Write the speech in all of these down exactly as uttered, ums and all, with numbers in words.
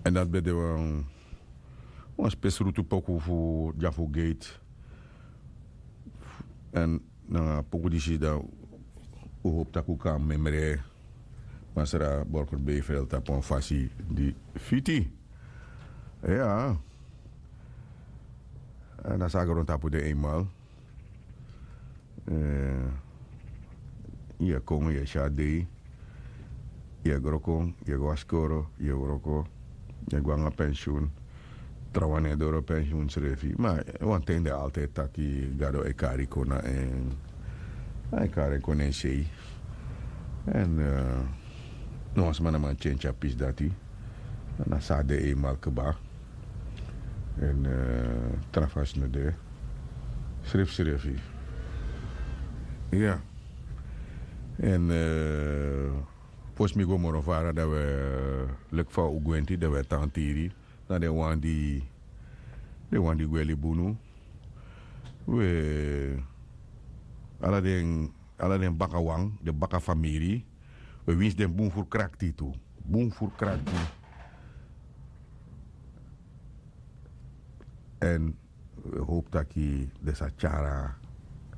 Èn dati ben de wan wan spesrutu poku fu dyafu geit. Èn nanga poku disi dan un hopu tak' un kan memre masra borker beifel tapu wan fasi di fiti. Iya. Èn a sa grontapu de einmal. Yu e kon yu e si a dei. Yu e wroko, yu e go na skoro, yu e wroko. Yu e go nanga pensiun. Trawan no e doro pensiun srefi ma wanten de altide taki gado e kari kon na en. A e kari en kon na en sei. Èn no wan sma no man tyentyi a pisi dati. Na so a de einmal kba. Èn tra fasi no de. Srefsrefi. Iya. Èn fosi mi go moro fara dan wi e leki fa un gwenti dan wi e tan tiri na den wan di den wan di gwe libi unu. We ala den ala den bakawan den bakafamiri. We winsi den bun furu krakti tu bun furu krakti. Èn wi e howpu taki den sa tyari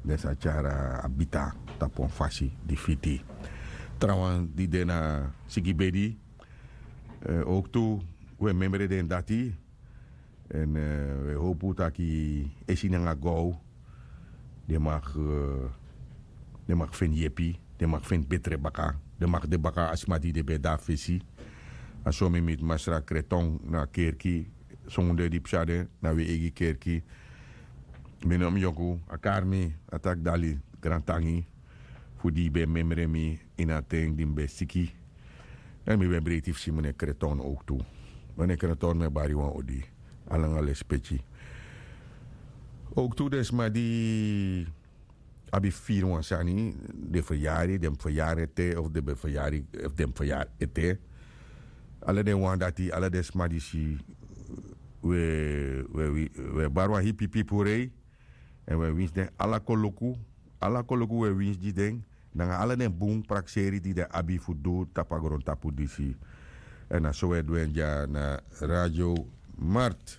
den sa tyari a bita tapu wan fasi di fiti. Trawan di de na sigibedi. Owktu wi e memre den dati. Èn wi e howpu taki esi nanga gow den mag den mag feni yepi. Den mag feni betre baka den mag de baka a sma di den ben de na fesi. A so mi miti masra kreton na kerki. Songu den di psa den na wi eigi kerki. Mi no mi yoku a kari mi a taki dali grantangi fu di yu ben memre mi ini a ten di mi ben siki. Èn mi ben breiti fu si mi ne kreton owktu. Mi ne kreton mi e bari wan odi a langa lespeki. Owktu den sma di abi firi wan sani den feryari den feryari ete of den ben feryari of den feryari ete. Ala den wan dati ala den sma disi we we we bari wan hipipi purei. Èn we winsi den ala koloku ala koloku we winsi gi den nanga ala den bun prakseri di den abi fu du tapu a grontapu disi. Èn na so we du en dya na radio mart.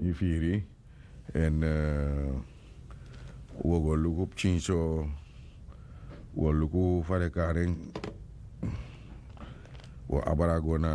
Yu firi. Èn wi o go luku pikin so wi o luku fa den kari en. Wi o abra go na